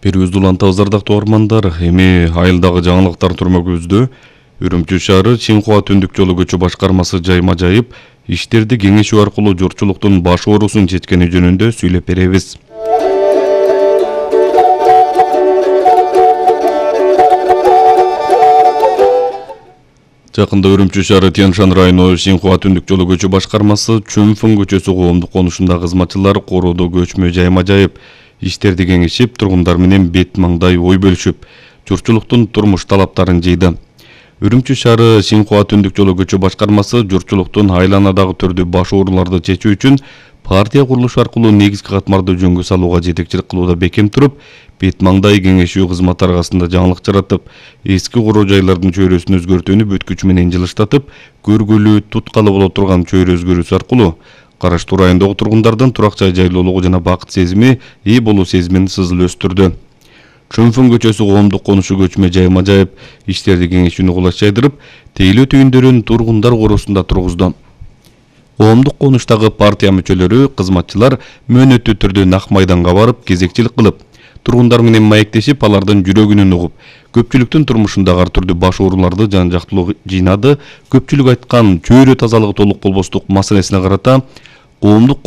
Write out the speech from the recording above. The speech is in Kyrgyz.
Берүүбүздү улантабыз ардактуу угармандар. Эми айылдагы жаңылыктар түрмөгүбүздө Үрүмчү шаары Синхуа түндүк жолу көчү башкармасы жайма жайып иштерди кеңешүү аркылуу журтчулуктун баш оорусун чечкени жөнүндө сүйлөп беребиз. Жакында Үрүмчү шаары Тянь-Шань району Синхуа түндүк жолу көчү башкармасы Чүнфүн көчөсү коомдук конушунда кызматчылар коруудо көчмө жайма жайып иштерди кеңешип, тургундар менен бет маңдай ой бөлүшүп, журтчулуктун турмуш талаптарын жыйды. Үрүмчү шаары Синхуа түндүк жолу көчү башкармасы журтчулуктун айланадагы түрдүү баш ооруларды чечүү үчүн партия курулушу аркылуу негизги катмарды жөнгө салууга жетекчилик кылууда бекем туруп, бет маңдай кеңешүү кызматы аркасында жаңылык жаратып, эски короо жайлардын чөйрөсүн өзгөртүүнү бүткүч менен жылыштатып, көргүлүү, туткалы боло турган чөйрө өзгөрүүсү аркылуу караштуу райондогу тургундардын турак жай жайлоолугу жана бакыт сезими, ээ болуу сезимин сызыл өстүрдү. Чүнфүн көчөсү коомдук конушу көчмө жайма жайып, иштерди кеңешүүнү кулаш жайдырып, тейлөө түйүндөрүн тургундар короосунда тургузду. Коомдук конуштагы партия мүчөлөрү, кызматчылар мөөнөттүү түрдө нак майданга барып, кезекчилик кылып, тургундар менен маектешип, алардын жүрөгүнөн угуп, көпчүлүктүн турмушундагы ар түрдүү баш ооруларды жан-жактылуу жыйнады. Көпчүлүк айткан чөйрө тазалыгы толук болбостук маселесине карата коомдук